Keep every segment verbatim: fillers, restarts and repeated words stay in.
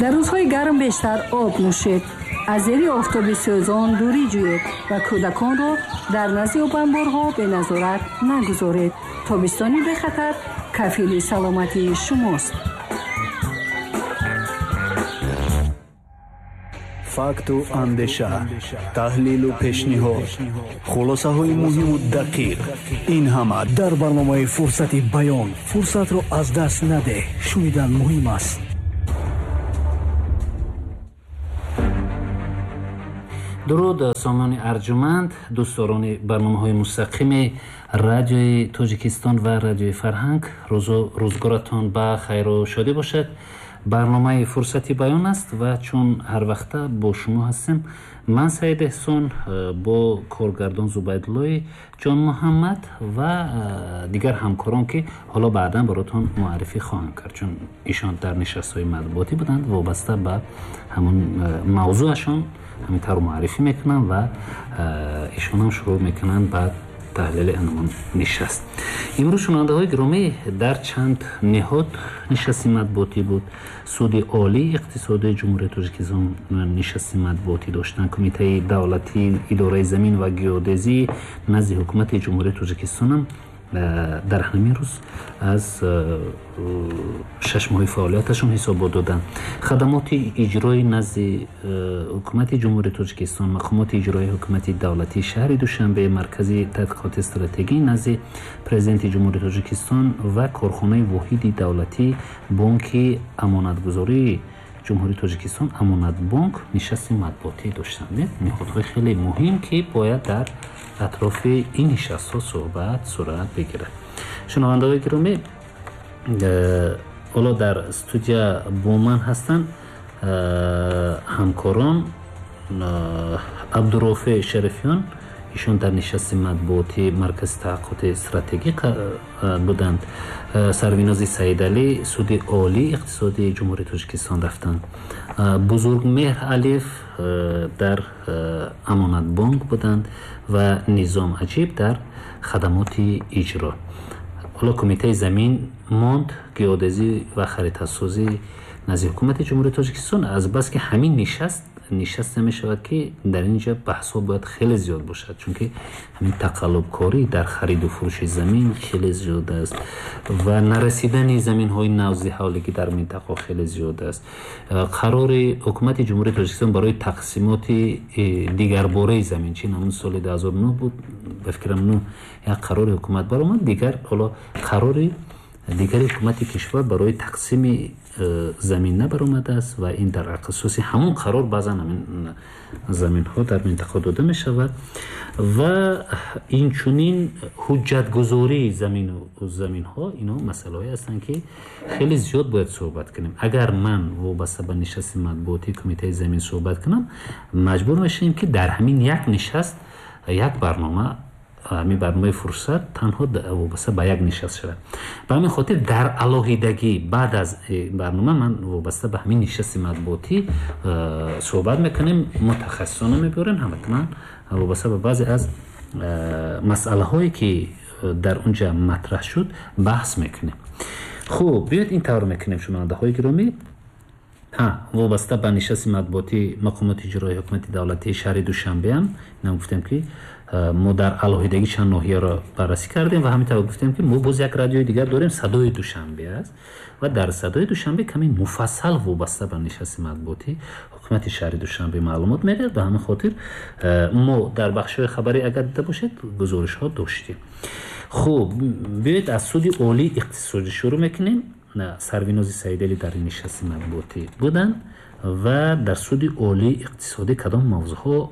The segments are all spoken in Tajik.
Дар рӯзҳои гарм бештар об нӯшед, аз зери офтоби сӯзон дурӣ ҷӯед ва кӯдаконро дар назди обанборҳо беназорат нагузоред. Тобистони бехатар кафили саломатии шумост. Факту андеша, таҳлилу пешниҳод, хулосаҳои муҳиму дақиқ, ин ҳама дар барномаи «Фурсати баён». Фурсатро аз даст надеҳ, шунидан муҳим аст. Дуруд, сомони арҷуманд, дӯстдорони барномаҳои мустақими радиои Тоҷикистон ва радиои Фарҳанг. Рӯзу рӯзгоратон ба хайру шодӣ бошад. Барномаи «Фурсати баён» аст ва чун ҳар вақта бо шумо ҳастем, ман Саид Эҳсон бо коргардон Зубайдуллои Ҷонмуҳаммад ва дигар ҳамкорон, ки ҳоло баъдан баротон муаррифӣ хоҳам кард, чун ишон дар нишастҳои матбуотӣ буданд, вобаста ба ҳамон мавзӯашон ҳамин тавр муаррифӣ мекунанд ва ишонам шурӯъ мекунанд ба таҳлили анмон нишаст. Имрӯз, шунавандаҳои гиромӣ, дар чанд ниҳод нишасти матбуотӣ буд. Суди Олии иқтисодии Ҷумҳурияи Тоҷикистон нишасти матбуотӣ доштанд. Кумитаи давлатии идораи замин ва геодезӣ назди ҳукумати Ҷумҳурияи Тоҷикистонам дар ҳамин рӯз аз шаш моҳи фаъолияташон ҳисобот доданд. Хадамоти иҷрои назди ҳукумати Ҷумҳурияи Тоҷикистон, мақомоти иҷрои ҳукумати давлатии шаҳри Душанбе, Маркази тадқиқоти стратегӣ назди Президенти Ҷумҳурияи Тоҷикистон ва корхонаи воҳиди давлатии Бонки Амонатгузории Ҷумҳурияи Тоҷикистон Амонатбонк нишасти матбуотӣ доштанд. Ниҳодҳои хеле муҳим, ки бояд дар атрофи ин нишастҳо суҳбат сурат бигирад. Шунавандаҳои гиромӣ, ҳоло дар студия бо ман ҳастанд ҳамкорон Абдурофе Шарифиён, ишон дар нишасти матбуотии Маркази таҳаққиқоти стратегӣ буданд. Сарвинози Саидалӣ Суди Олии иқтисодии Ҷумҳурияи Тоҷикистон рафтанд. Бузургмеҳр Алиф дар Амонатбонк буданд ва Низом Аҷиб дар хадамоти иҷро. Ҳоло Кумитаи замин монд, геодезӣ ва харитасозӣ назди ҳукумати Ҷумҳурияи Тоҷикистон. Азбаски ҳамин нишаст нишаст намешавад, ки дар ин ҷо баҳсҳо бояд хеле зиёд бошад, чунки ҳамин тақаллубкорӣ дар хариду фурӯши замин хеле зиёд аст ва нарасидани заминҳои навзи ҳавлигӣ дар минтақа хеле зиёд аст. Қарори ҳукумати Ҷумҳурияи Тоҷикистон барои тақсимоти дигарбораи замин, чин ҳамун соли ду ҳазору нӯҳ буд, ба фикрам нӯҳ, як қарори ҳукумат баромад. Дигар ҳоло қарори дигари ҳукумати кишвар барои тақсими замин набаромадааст ва ин дар асоси ҳамон қарор баъзан ҳамин заминҳо дар минтақа дода мешавад ва инчунин ҳуҷҷатгузории замину заминҳо. Ино масъалаҳое ҳастанд, ки хеле зиёд бояд суҳбат кунем. Агар ман вобаста ба нишасти матбуотии Кумитаи замин суҳбат кунам, маҷбур мешавем, ки дар ҳамин як нишаст як барнома, ҳамин барномаи «Фурсат» танҳо вобаста ба як нишаст шавад. Ба ҳамин хотир дар алоҳидагӣ баъд аз барнома ман вобаста ба ҳамин нишасти матбуотӣ суҳбат мекунем, мутахассисона мебиёрем, ҳатман вобаста ба баъзе аз масъалаҳое, ки дар он ҷа матраҳ шуд, баҳс мекунем. Хуб, биёед ин тавр мекунем, шунавандаҳои гиромӣ. Ҳа, вобаста ба нишасти матбуотии мақомоти иҷроии ҳукумати давлатии шаҳри Душанбеам инам гуфтем, ки мо дар алоҳидагӣ чанд ноҳияро баррасӣ кардем ва ҳамин тавр гуфтем, ки мо боз як радиои дигар дорем, Садои Душанбе аст ва дар Садои Душанбе каме муфассал вобаста ба нишасти матбуотӣ ҳукумати шаҳри Душанбе маълумот медиҳад. Ба ҳамин хотир мо дар бахшҳои хабарӣ, агар дида бошед, гузоришҳо доштем. Хуб, биёед аз Суди Олии иқтисодӣ шурӯъ мекунем. Сарвинози Саидалӣ дар нишасти матбуотӣ буданд ва дар Суди Олии иқтисодӣ кадом мавзӯъҳо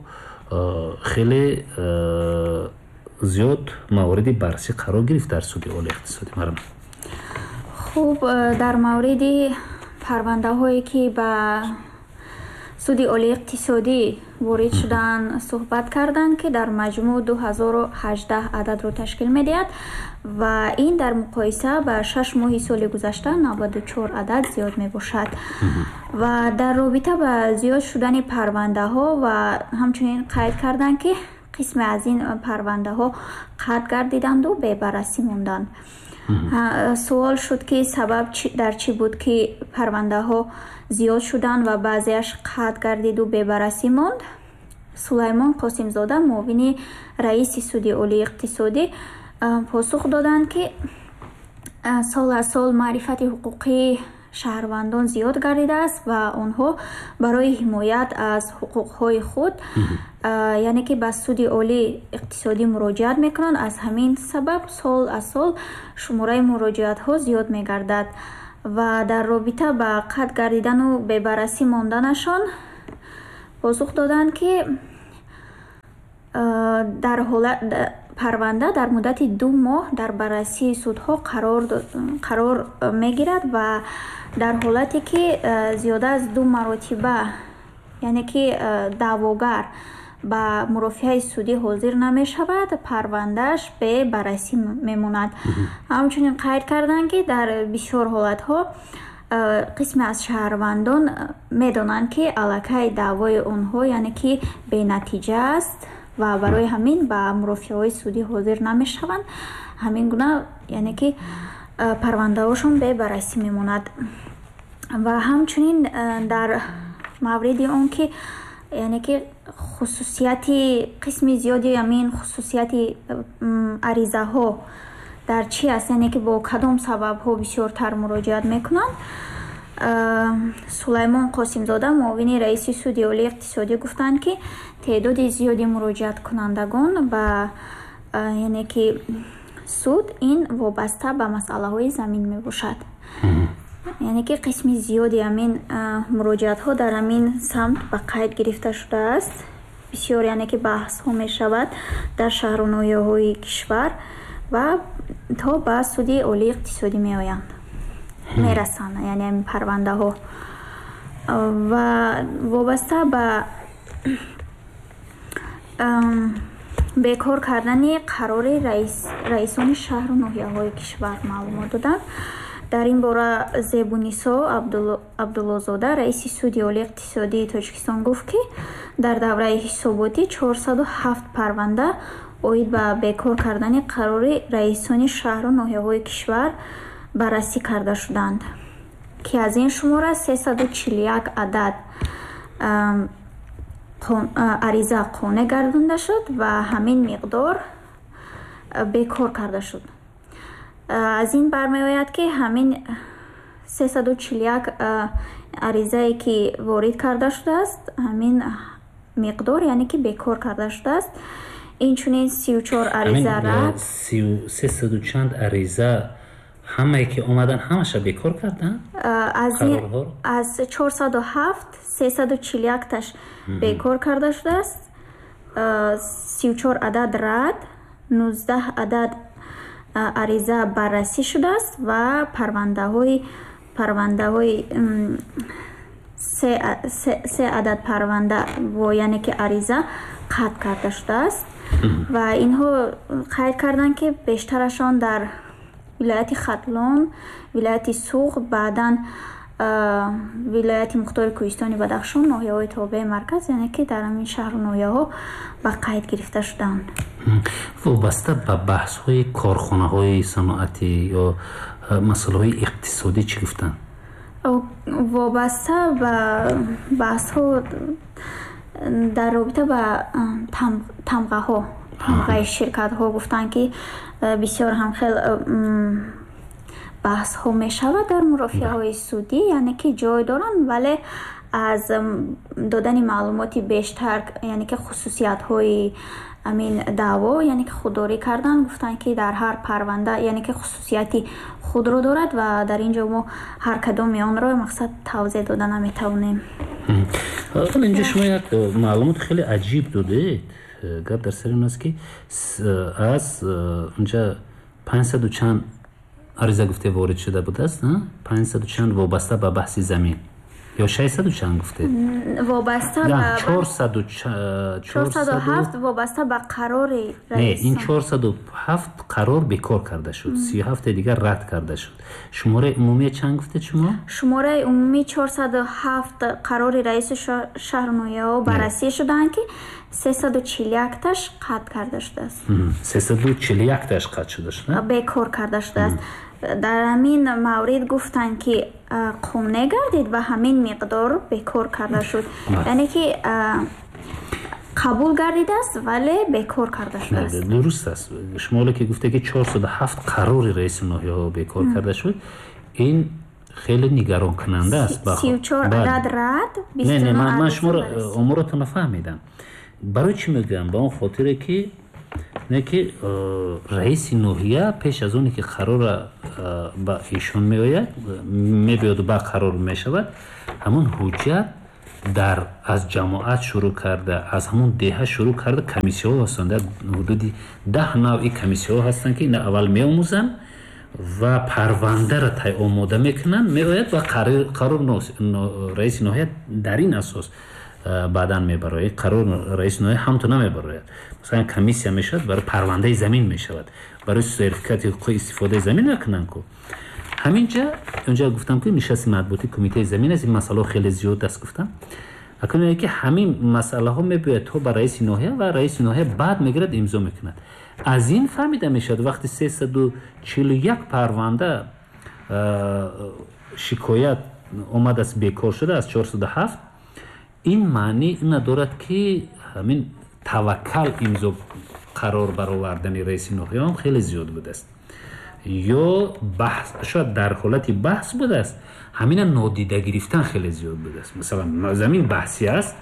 хеле зиёд мавриди баррасӣ қарор гирифт дар Суди Олии иқтисодӣ? Марам. Хуб, дар мавриди парвандаҳое, ки ба Суди Олии иқтисодӣ ворид шуданд, суҳбат карданд, ки дар маҷмӯъ ду ҳазору ҳаждаҳ ададро ташкил медиҳад ва ин дар муқоиса ба шаш моҳи соли гузашта наваду чор адад зиёд мебошад. Ва дар робита ба зиёд шудани парвандаҳо ва ҳамчунин қайд карданд, ки қисме аз ин парвандаҳо қатъ гардиданду бебаррасӣ монданд. Суол шуд, ки сабаб дар чӣ буд, ки парвандаҳо зиёд шуданд ва баъзеаш қатъ гардиду бебаррасӣ монд. Сулаймон Қосимзода, муовини раиси Суди Олии Иқтисодӣ, посух доданд, ки сол аз сол маърифати ҳуқуқии шаҳрвандон зиёд гардидааст ва онҳо барои ҳимоят аз ҳуқуқҳои худ, яъне ки ба Суди Олии Иқтисодӣ муроҷиат мекунанд. Аз ҳамин сабаб сол аз сол шумораи муроҷиатҳо зиёд мегардад. Ва дар робита ба қатъ гардидану бебаррасӣ монданашон посух доданд, ки дар парванда дар муддати ду моҳ дар баррасии судҳо қарор мегирад ва дар ҳолате ки зиёда аз ду маротиба, яъне ки даъвогар ба мурофиаи судӣ ҳозир намешавад, парвандааш бебаррасӣ мемонад. Ҳамчунин қайд карданд, ки дар бисёр ҳолатҳо қисме аз шаҳрвандон медонанд, ки аллакай даъвои онҳо, яъне ки бенатиҷа аст ва барои ҳамин ба мурофиаҳои судӣ ҳозир намешаванд. Ҳамин гуна, яъне ки парвандаҳошон бебаррасӣ мемонад. Ва ҳамчунин дар мавриди он ки, яъне ки хусусияти қисми зиёди ҳамин хусусияти аризаҳо дар чӣ аст, яъне ки бо кадом сабабҳо бисёртар муроҷиат мекунанд, Сулаймон Қосимзода, муовини раиси Суди Олии Иқтисодӣ, гуфтанд, ки теъдоди зиёди муроҷиаткунандагон ба, яъне ки суд ин вобаста ба масъалаҳои замин мебошад. Яъне ки қисми зиёди ҳамин муроҷиатҳо дар ҳамин самт ба қайд гирифта шудааст. Бисёр, яъне ки баҳсҳо мешавад дар шаҳру ноҳияҳои кишвар ва то ба Суди Олии Иқтисодӣ меоянд, мерасанд, яъне ҳамин парвандаҳо. Ва вобаста ба бекор кардани қарори раисони шаҳру ноҳияҳои кишвар маълумот доданд. Дар ин бора Зебунисо Абдуллозода, раиси Суди Олии Иқтисодии Тоҷикистон, гуфт, ки дар давраи ҳисоботӣ чорсаду ҳафт парванда оид ба бекор кардани қарори раисони шаҳру ноҳияҳои кишвар баррасӣ карда шуданд, ки аз ин шумора сесаду чилу як адад ариза қонеъ гардонда шуд ва ҳамин миқдор бекор карда шуд. Аз ин бармеояд, ки ҳамин сесаду чилу як аризае ки ворид карда шудааст, ҳамин миқдор, яъне ки бекор карда шудааст. Инчунин сию чор ариза рад. Сесаду чанд ариза ҳамае ки омадан, ҳамаша бекор кардан? Аз чорсаду ҳафт сесаду чилу якташ бекор карда шудааст, сию чор адад рад, нуздаҳ адад ариза баррасӣ шудааст ва парвандаҳои парвандаҳои се адад парванда бо, яъне ки ариза қатъ карда шудааст. Ва инҳо қайд карданд, ки бештарашон дар вилояти Хатлон, вилояти Суғд, баъдан вилояти Мухтори Кӯҳистони Бадахшон, ноҳияҳои тобеи марказ, яъне ки дар ҳамин шаҳру ноҳияҳо ба қайд гирифта шуданд. Вобаста ба баҳсҳои корхонаҳои саноатӣ ё масъалаҳои иқтисодӣ чӣ гуфтанд? Вобаста ба баҳсҳо дар робита ба тамғаҳо, тамғаи ширкатҳо гуфтанд, ки бисёр ҳам хел баҳсҳо мешавад дар мурофиаҳои судӣ, яъне ки ҷой доранд, вале аз додани маълумоти бештар, яъне ки хусусиятҳои ҳамин даъво, яъне ки худдорӣ карданд. Гуфтанд, ки дар ҳар парванда, яъне ки хусусияти худро дорад ва дар ин ҷо мо ҳар кадоми онро мақсад тавзеҳ дода наметавонем. Инҷо шумо як маълумоти хеле аҷиб додед. Гап дар сари он аст, ки аз унҷа панҷсаду чанд ариза гуфте ворид шуда будааст, панҷсаду чанд вобаста ба баҳси замин. Ё шашсаду чанд гуфтед? Вобаста ба чорсаду чорсаду ҳафт вобаста ба қарори раис. Не, ин чорсаду ҳафт қарор бекор карда шуд, сию ҳафте дигар рад карда шуд. Шумораи умумӣ чанд гуфтед шумо? Шумораи умумӣ чорсаду ҳафт қарори раиси шаҳру ноҳияҳо баррасӣ шудаанд, ки сесаду чилу якташ қатъ карда шудааст. Сесаду чилу якташ қатъ шуда шуд? Бекор карда шудааст. Дар ҳамин маврид гуфтанд, ки қонеъ гардид ва ҳамин миқдор бекор карда шуд. Яъне ки қабул гардидааст, вале бекор карда шудааст. Дуруст аст. Шумо ҳоло ки гуфте, ки чорсаду ҳафт қарори раиси ноҳияҳо бекор карда шуд, ин хеле нигаронкунанда аст. Сию чор адад рад, не, не, ман шуморо оморотонро фаҳмидам. Барои чӣ мегӯям? Ба он хотире ки не ки раиси ноҳия пеш аз оне ки қарора ба ишон меояд, мебиёду ба қарор мешавад, ҳамон ҳуҷҷат дар аз ҷамоат шурӯъ карда, аз ҳамон деҳа шурӯъ карда комиссияҳо ҳастанд. Дар ҳудуди даҳ навъи комиссияҳо ҳастанд, ки ина аввал меомӯзанд ва парвандаро тай омода мекунанд, меояд ва қарор раиси ноҳия дар ин асос баъдан мебарояд. Қарор раиси ноҳия ҳамту намебарояд. Масалан, комиссия мешавад, барои парвандаи замин мешавад, барои сертификати ҳуқуқи истифодаи замин мекунанд ку. Ҳаминҷа онҷа гуфтам, ки нишасти матбуоти кумитаи замин аст, ин масъалаҳо хеле зиёд аст гуфтам. Акнун ки ҳамин масъалаҳо мебиёяд то ба раиси ноҳия ва раиси ноҳия баъд мегирад, имзо мекунад. Аз ин фаҳмида мешавад, вақти сесаду чилу як парванда шикоят омадааст, бекор шуда аз чорсаду ҳафт, ин маъни ина дорад, ки ҳамин таваккал имзо қарор баровардани раиси ноҳия ҳам хеле зиёд будааст. Ё баҳс, шояд дар ҳолати баҳс будааст, ҳамина нодида гирифтан хеле зиёд будааст. Масалан, замин баҳсӣ аст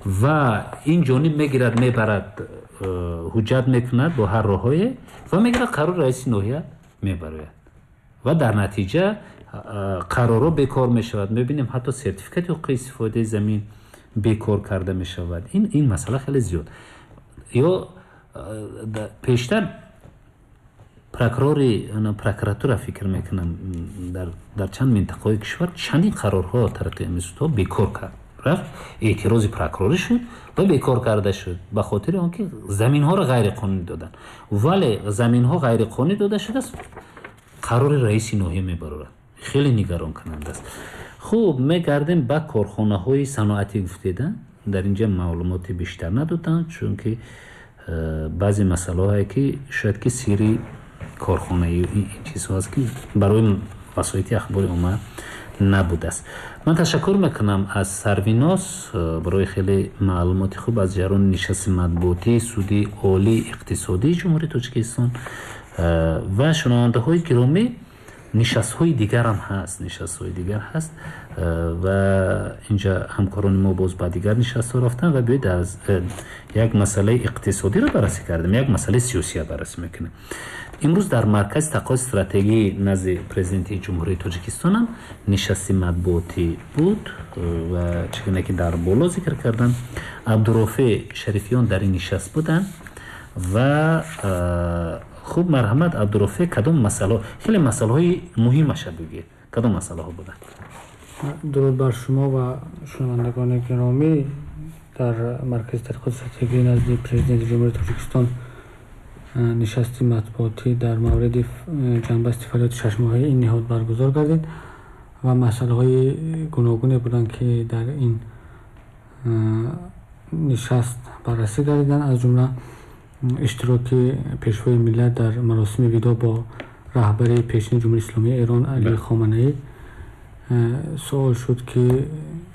ва ин ҷониб мегирад, мебарад, ҳуҷҷат мекунад бо ҳар роҳҳое ва мегирад қарор раиси ноҳия мебарояд ва дар натиҷа қарорҳо бекор мешавад. Мебинем, ҳатто сертификати ҳуқуқи истифодаи замин бекор карда мешавад. Ин ин масъала хеле зиёд. Ё пештар прокурори прокуратура фикр мекунам дар дар чанд минтақаҳои кишвар чандин қарорҳо тариқи институтҳо бекор кард. Рафт эътирози прокурорӣ шуд ва бекор карда шуд ба хотири он ки заминҳоро ғайриқонунӣ доданд. Вале заминҳо ғайриқонунӣ дода шудааст, қарори раиси ноҳия мебарорад. Хеле нигаронкунанда аст. Хуб, мегардем ба корхонаҳои саноатӣ гуфтеда. Дар инҷа маълумоти бештар надоданд, чунки баъзе масъалаҳое ки шояд ки сирри корхонаи ин чизҳо аст, ки барои васоити ахбори омма набудааст. Ман ташаккур мекунам аз Сарвиноз барои хеле маълумоти хуб аз ҷараёни нишасти матбуотии Суди Олии Иқтисодии Ҷумҳурии Тоҷикистон ва шунавандаҳои гиромӣ. Нишастҳои дигарам ҳаст, нишастҳои дигар ҳаст ва инҷа ҳамкорони мо боз ба дигар нишастҳо рафтанд ва биёед аз як масъалаи иқтисодиро баррасӣ кардем, як масъалаи сиёсиро баррасӣ мекунем. Имрӯз дар маркази таҳқиқоти стратегӣ назди президенти Ҷумҳурии Тоҷикистон ҳам нишасти матбуотӣ буд ва чӣ гуна ки дар боло зикр кардам, Абдурофеъ Шарифиён дар ин нишаст буданд ва хуб, марҳамат Абдурофеъ, кадом масъалаҳо, хеле масъалаҳои муҳимаша бигӯед, кадом масъалаҳо буданд? Дуруд бар шумо ва шунавандагони гиромӣ. Дар маркази таҳқиқоти стратегӣ назди президенти Ҷумҳурии Тоҷикистон нишасти матбуотӣ дар мавриди ҷанбасти фаъолияти шашмоҳаи ин ниҳод баргузор гардид ва масъалаҳои гуногуне буданд, ки дар ин нишаст баррасӣ гардиданд, аз ҷумла иштироки пешвои миллат дар маросими видо бо раҳбари пешини Ҷумҳурии Исломии Эрон Али Хоманаӣ. Суол шуд, ки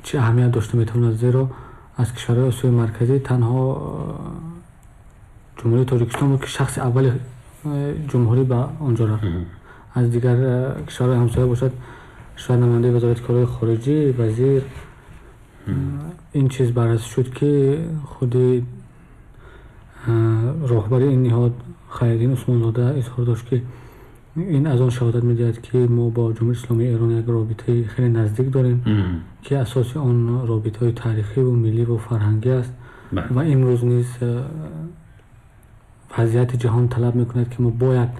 чӣ аҳамият дошта метавонад, зеро аз кишварҳои Осиёи Марказӣ танҳо Ҷумҳурии Тоҷикистон буд, ки шахси аввали ҷумҳурӣ ба он ҷо рафт. Аз дигар кишварҳои ҳамсоя бошад, шояд намояндаи вазорати корҳои хориҷӣ, вазир. Ин чиз баррасӣ шуд, ки худи роҳбари ин ниҳод Хайриддин Усмонзода изҳор дошт, ки ин аз он шаҳодат медиҳад, ки мо бо Ҷумҳурии Исломии Эрон як робитаи хеле наздик дорем, ки асоси он робитаҳои таърихиву милливу фарҳангӣ аст ва имрӯз низ вазъияти ҷаҳон талаб мекунад, ки мо бояд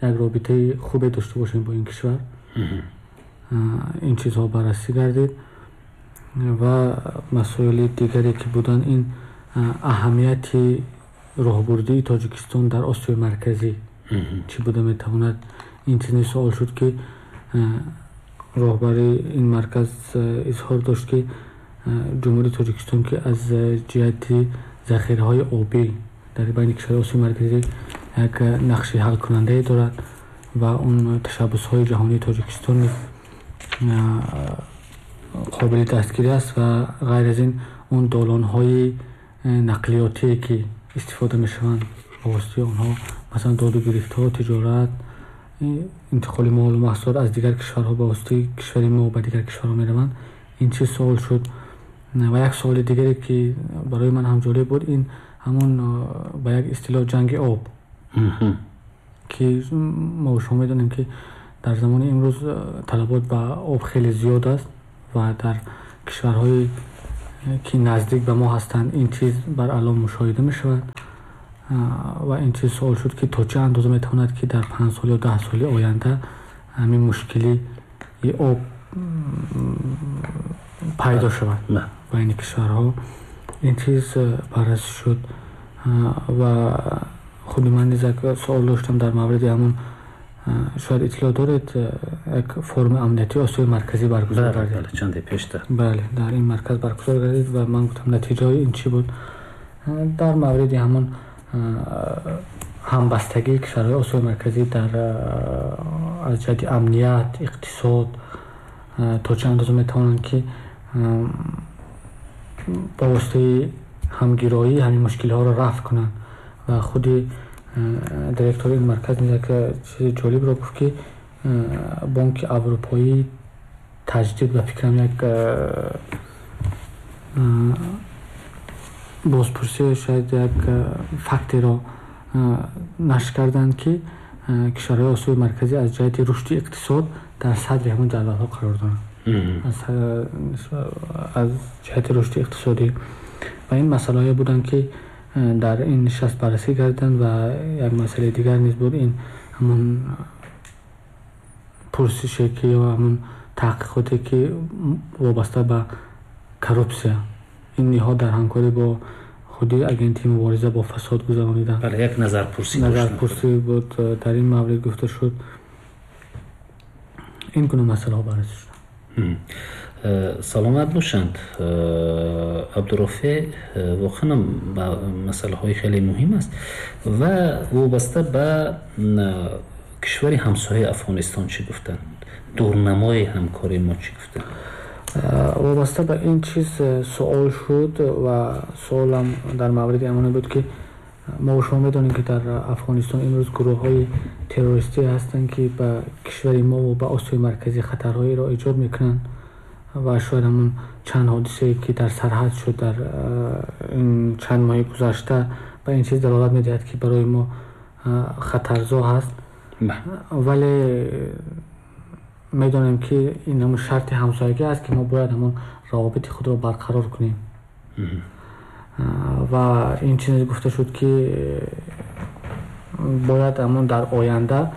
як робитаи хубе дошта бошем бо ин кишвар. Ин чизҳо баррасӣ гардид. Ва масоили дигаре ки буданд, ин аҳамияти роҳбурдии Тоҷикистон дар Осиёи Марказӣ чӣ буда метавонад. Ин чизе суол шуд, ки роҳбари ин марказ изҳор дошт, ки Ҷумҳурии Тоҷикистон, ки аз ҷиҳати захираҳои обӣ дар байни кишварҳои Осиёи Марказӣ як нақши ҳалкунандае дорад ва он ташаббусҳои ҷаҳонии Тоҷикистон қобили дастгирӣ аст ва ғайр аз ин он долонҳои нақлиётие ки истифода мешаванд, ба воситаи онҳо масалан доду гирифтҳо, тиҷорат, интиқоли молу маҳсулот аз дигар кишварҳо ба воситаи кишвари мо ба дигар кишварҳо мераванд. Ин чиз суол шуд. Ва як суоли дигаре ки барои ман ҳам ҷолиб буд, ин ҳамон ба як истилоҳ ҷанги об, ки мо шумо медонем, ки дар замони имрӯз талабот ба об хеле зиёд аст ва дар кишварҳое ки наздик ба мо ҳастанд, ин чиз баръало мушоҳида мешавад. Ва ин чиз суол шуд, ки то чӣ андоза метавонад, ки дар панҷ сол ё даҳ соли оянда ҳамин мушкилии об пайдо шавад байни кишварҳо. Ин чиз баррасӣ шуд. Ва худи ман низ як суол доштам дар мавриди ҳамон, шояд иттилоъ доред, як форуми амниятии Осиёи Марказӣ баргузор гардид чанде пештар. Бале, дар ин марказ баргузор гардид ва ман гуфтам, натиҷаҳои ин чӣ буд дар мавриди ҳамон ҳамбастагии кишварҳои Осиёи Марказӣ дар аз ҷиҳати амният, иқтисод, то чӣ андоза метавонанд, ки ба воситаи ҳамгироӣ ҳамин мушкилиҳоро рафъ кунанд. Ва худи директори ин марказ як чизи ҷолибро гуфт, ки Бонки Аврупоӣ таҷдид, ба фикрам, як бозпурсӣ, шояд як фактеро нашр карданд, ки кишварҳои Осиёи Марказӣ аз ҷиҳати рушди иқтисод дар садри ҳамон ҷадвалҳо қарор доранд аз ҷиҳати рушди иқтисодӣ. Ва ин масъалаҳое буданд, ки дар ин нишаст баррасӣ карданд. Ва як масъалаи дигар низ буд, ин ҳамон пурсише ки ё ҳамон таҳқиқоте ки вобаста ба коррупсия ин ниҳод дар ҳамкорӣ бо худи агентии мубориза бо фасод гузарониданд. Бале, як назарпурсӣ. Назарпурсӣ буд, дар ин маврид гуфта шуд. Ин гуна масъалаҳо баррасӣ шуданд. Саломат бошанд, Абдурофеъ. Воқеан масъалаҳои хеле муҳим аст. Ва вобаста ба кишвари ҳамсояи Афғонистон чӣ гуфтанд? Дурнамои ҳамкории мо чӣ гуфтанд? Вобаста ба ин чиз суол шуд ва суолам дар мавриди ҳамоне буд, ки мо шумо медонем, ки дар Афғонистон имрӯз гурӯҳҳои террористӣ ҳастанд, ки ба кишвари мо ва ба Осиёи Марказӣ хатарҳоеро эҷод мекунанд ва шояд ҳамон чанд ҳодисае ки дар сарҳад шуд дар ин чанд моҳи гузашта ба ин чиз далолат медиҳад, ки барои мо хатарзо ҳаст. Вале медонем, ки ин ҳамон шарти ҳамсоягӣ аст, ки мо бояд ҳамон равобити худро барқарор кунем. Ва ин чиз гуфта шуд, ки бояд ҳамон дар оянда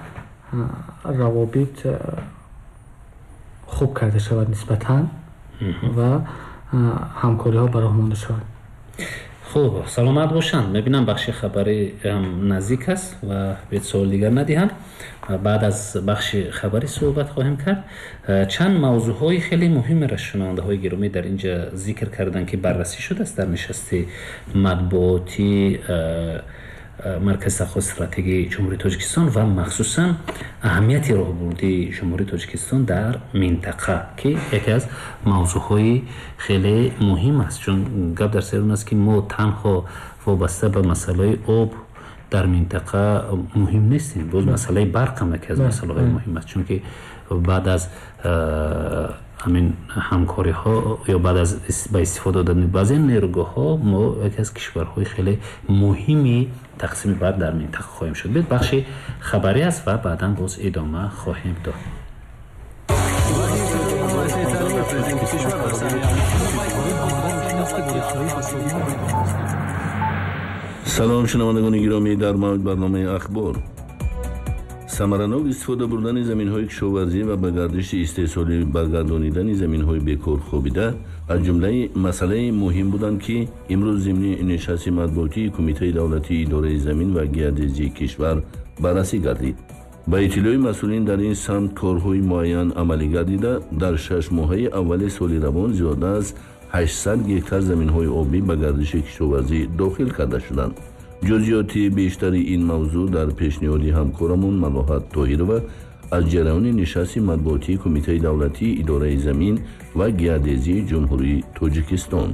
равобит хуб карда шавад нисбатан ва ҳамкориҳо ба роҳ монда шавад. Хуб, саломат бошанд. Мебинам, бахши хабарӣ ҳам наздик аст ва бед суол дигар надиҳам. Баъд аз бахши хабарӣ суҳбат хоҳем кард. Чанд мавзӯъҳои хеле муҳимеро шунавандаҳои гиромӣ дар инҷа зикр карданд, ки баррасӣ шудааст дар нишасти матбуотӣ Маркази таҳқиқоти стратегии Ҷумҳурии Тоҷикистон ва махсусан аҳамияти роҳбурдии Ҷумҳурии Тоҷикистон дар минтақа, ки яке аз мавзӯъҳои хеле муҳим аст, чун гап дар сари он аст, ки мо танҳо вобаста ба масъалаи об дар минтақа муҳим нестем, боз масъалаи барқ ҳам яке аз масъалаҳои муҳим аст, чунки баъд аз ҳамин ҳамкориҳо ё баъд аз ба истифода додани баъзе нерӯгоҳҳо мо яке аз кишварҳои хеле муҳими тақсими барқ дар минтақа хоҳем шуд. Бед бахши хабарӣ аст ва баъдан боз идома хоҳем дод. Салом, шунавандагони гиромӣ, дар мавҷ барномаи Ахбор. Самаранок истифода бурдани заминҳои кишоварзӣ ва ба гардиши истеҳсолӣ баргардонидани заминҳои бекор хобида аз ҷумлаи масъалаи муҳим буданд, ки имрӯз зимни нишасти матбуотии Кумитаи давлатии идораи замин ва геодезии кишвар баррасӣ гардид. Ба иттилои масъулин, дар ин самт корҳои муайян амалӣ гардида, дар шаш моҳаи аввали соли равон зиёда аз ҳаштсад гектар заминҳои обӣ ба гардиши кишоварзӣ дохил карда шуданд. Ҷузъиёти бештари ин мавзӯъ дар пешниҳоди ҳамкорамон Малоҳат Тоҳирова аз ҷараёни нишасти матбуотии Кумитаи давлатии идораи замин ва геодезии Ҷумҳурии Тоҷикистон.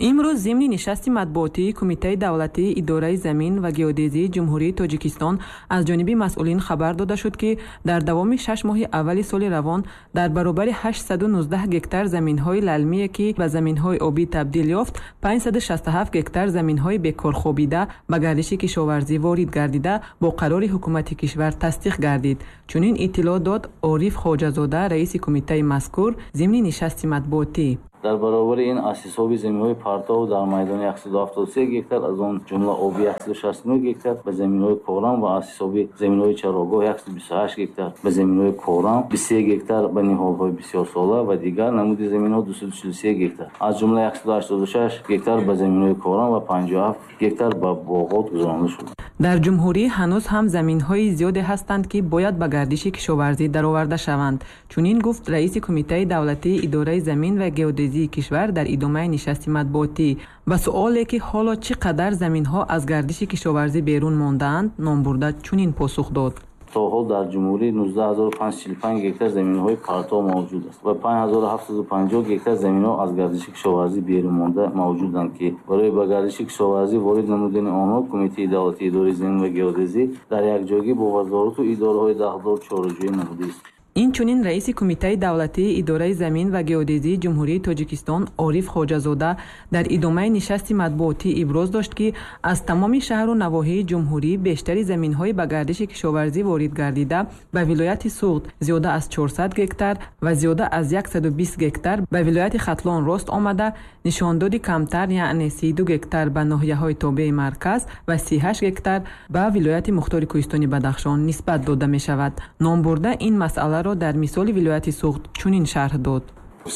Имрӯз зимни нишасти матбуотии Кумитаи давлатии идораи замин ва геодезии Ҷумҳурии Тоҷикистон аз ҷониби масъулин хабар дода шуд, ки дар давоми шаш моҳи аввали соли равон дар баробари ҳаштсаду нуздаҳ гектар заминҳои лалмие, ки ба заминҳои обӣ табдил ёфт, панҷсаду шасту ҳафт гектар заминҳои бекорхобида ба гардиши кишоварзӣ ворид гардида бо қарори ҳукумати кишвар тасдиқ гардид. Чунин иттилоъ дод Ориф Хоҷазода, раиси кумитаи мазкур, зимни нишасти матбуотӣ. Дар баробари ин аз ҳисоби заминҳои партов дар майдони яксаду ҳафтоду се гектар, аз он ҷумла оби яксаду шасту нӯҳ гектар ба заминҳои корам ва аз ҳисоби заминҳои чарогоҳ яксаду бисту ҳашт гектар ба заминҳои корам, бисту се гектар ба ниҳолҳои бисёрсола ва дигар намуди заминҳо дусаду чилу се гектар, аз ҷумла яксаду ҳаштоду шаш гектар ба заминҳои корам ва панҷоҳу ҳафт гектар ба боғот гузаронида шуд. Дар ҷумҳурӣ ҳанӯз ҳам заминҳои зиёде ҳастанд, ки бояд ба гардиши кишоварзӣ дароварда шаванд. Чунин гуфт раиси Кумитаи давлатии идораи замин ва геодезии кишвар дар идомаи нишасти матбуотӣ. Ба суоле, ки ҳоло чӣ қадар заминҳо аз гардиши кишоварзӣ берун мондаанд, номбурда чунин посух дод. То ҳол дар ҷумҳурӣ нуздаҳ ҳазору панҷсаду чилу панҷ гектар заминҳои партов мавҷуд аст ва панҷ ҳазору ҳафтсаду панҷоҳ гектар заминҳо аз гардиши кишоварзӣ берун монда мавҷуданд, ки барои ба гардиши кишоварзӣ ворид намудани онҳо Кумитаи давлатии идораи замин ва геодезӣ дар якҷоягӣ бо вазорату идораҳои дахлдор чораҷӯӣ намудааст. Инчунин раиси Кумитаи давлатии идораи замин ва геодезии Ҷумҳурии Тоҷикистон Ориф Хоҷазода дар идомаи нишасти матбуотӣ иброз дошт, ки аз тамоми шаҳру навоҳии ҷумҳурӣ бештари заминҳои ба гардиши кишоварзӣ ворид гардида ба вилояти Суғд зиёда аз чорсад гектар ва зиёда аз яксаду бист гектар ба вилояти Хатлон рост омада, нишондоди камтар, яъне сиду гектар ба ноҳияҳои тобеи марказ ва сиҳашт гектар ба вилояти Мухтори Кӯҳистони Бадахшон нисбат дода мешавад. Номбурда ин масъаларо дар мисоли вилояти Суғд чунин шарҳ дод.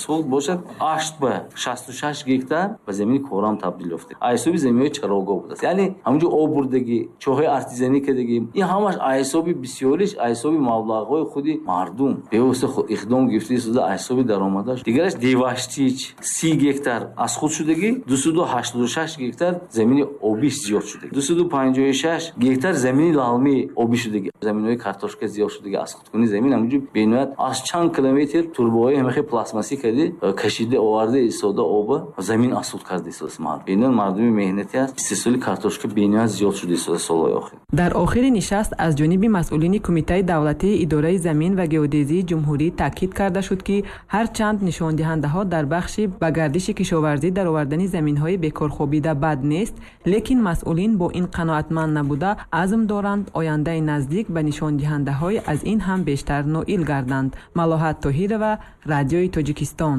Суғд бошад ҳашт ба шасту шаш гектар ба замини корам табдил ёфта. Аз ҳисоби заминҳои чарогоҳ будааст. Яъне ҳамонҷо об бурдагӣ, чоҳҳои артезианӣ кардагӣ, ин ҳамаш аз ҳисоби бисёриш, аз ҳисоби маблағҳои худи мардум бевосита иқдом гирифта шуда, аз ҳисоби даромадаш. Дигараш Деваштич си гектар аз худ шудагӣ, дусаду ҳаштоду шаш гектар замини обиш зиёд шудагӣ, дусаду панҷоҳу шаш гектар замини лалмии обӣ шудагӣ, заминҳои картошка зиёд шудагӣ. Аз худкунии замин ҳамонҷо бениҳоят аз чанд километр турбаҳои ҳамахи пластмассӣ кардӣ, кашида оварда истода оба замин асуд карда истода мардум. Бениҳоят мардуми меҳнатӣ аст. Истеҳсоли картошка бениҳоят зиёд шуда истода солҳои охир. Дар охири нишаст аз ҷониби масъулини Кумитаи давлатии идораи замин ва геодезии ҷумҳурӣ таъкид карда шуд, ки ҳарчанд нишондиҳандаҳо дар бахши ба гардиши кишоварзӣ даровардани заминҳои бекорхобида бад нест, лекин масъулин бо ин қаноатманд набуда азм доранд ояндаи наздик ба нишондиҳандаҳои аз ин ҳам бештар ноил гарданд. Малоҳат Тоҳирова, Радиои Тоҷикистон.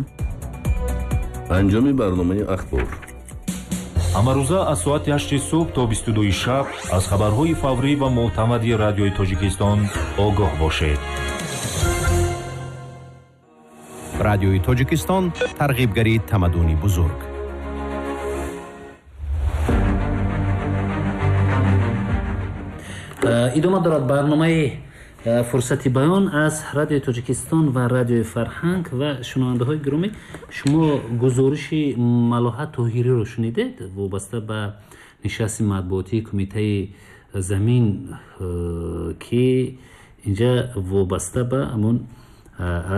Анҷоми барномаи ахбор. Ҳамарӯза аз соати ҳашти субҳ то бисту дуи шаб аз хабарҳои фаврӣ ва мӯътамади Радиои Тоҷикистон огоҳ бошед. Радиои Тоҷикистон тарғибгари тамаддуни бузург. Идома дорад барномаи фурсати баён аз Радиои Тоҷикистон ва Радиои Фарҳанг. Ва шунавандаҳои гиромӣ, шумо гузориши Малоҳат Тоҳириро шунидед вобаста ба нишасти матбуотии Кумитаи замин, ки инҷа вобаста ба ҳамон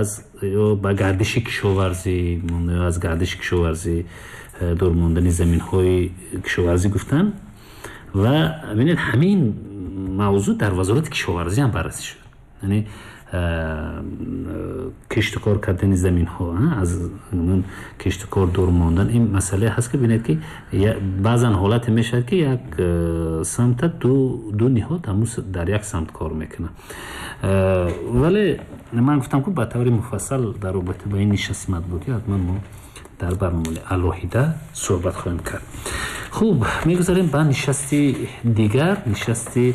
аз ё ба гардиши кишоварзӣ, ё аз гардиши кишоварзӣ дур мондани заминҳои кишоварзӣ гуфтанд. Ва бинед, ҳамин мавзӯъ дар вазорати кишоварзӣ ҳам баррасӣ шуд. Яъне киштукор кардани заминҳо, аз киштукор дур мондан, ин масъалае ҳаст, ки бинед, ки баъзан ҳолате мешавад, ки як самта ду ду ниҳод ҳамун дар як самт кор мекунад. Вале ман гуфтам, ки ба таври муфассал дар робита ба ин нишасти матбуотӣ ҳатман мо дар барномаи алоҳида суҳбат хоҳем кард. Хуб, мегузарем ба нишасти дигар, нишасти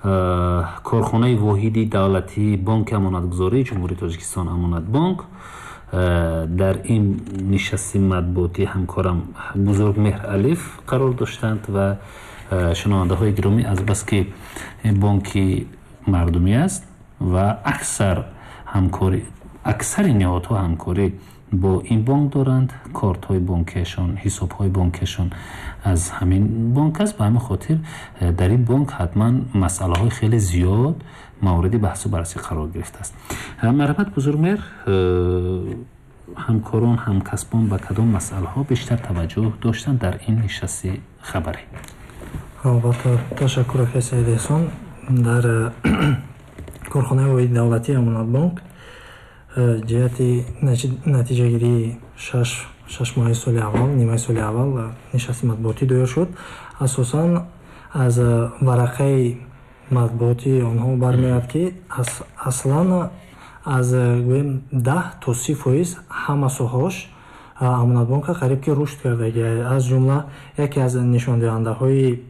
Корхонаи воҳиди давлатии Бонки Амонатгузории Ҷумҳурии Тоҷикистон Амонатбонк. Дар ин нишасти матбуотӣ ҳамкорам Бузургмеҳр Алиф қарор доштанд ва шунавандаҳои гиромӣ, азбаски бонки мардумӣ аст ва аксар ҳамкорӣ, аксари ниҳодҳо ҳамкорӣ бо ин бонк доранд, кортҳои бонкиашон, ҳисобҳои бонкиашон аз ҳамин бонк аст. Ба ҳамин хотир дар ин бонк ҳатман масъалаҳои хеле зиёд мавриди баҳсу баррасӣ қарор гирифтааст. Марҳамат, Бузургмеҳр, ҳамкорон, ҳамкасбон ба кадом масъалаҳо бештар таваҷҷӯҳ доштанд дар ин нишасти хабарӣ? Албатта, ташаккур, акай Саид Эҳсон. Дар корхонаи воҳиди давлатии Амонатбонк ҷиҳати натиҷагирии шаш моҳаи соли аввал, нимаи соли аввал нишасти матбуотӣ доир шуд. Асосан аз варақаи матбуотии онҳо бармеояд, ки аслан аз гӯем даҳ то си фоиз ҳама соҳаош Амонатбонка қариб ки рушд кардагӣ. Аз ҷумла яке аз нишондиҳандаҳои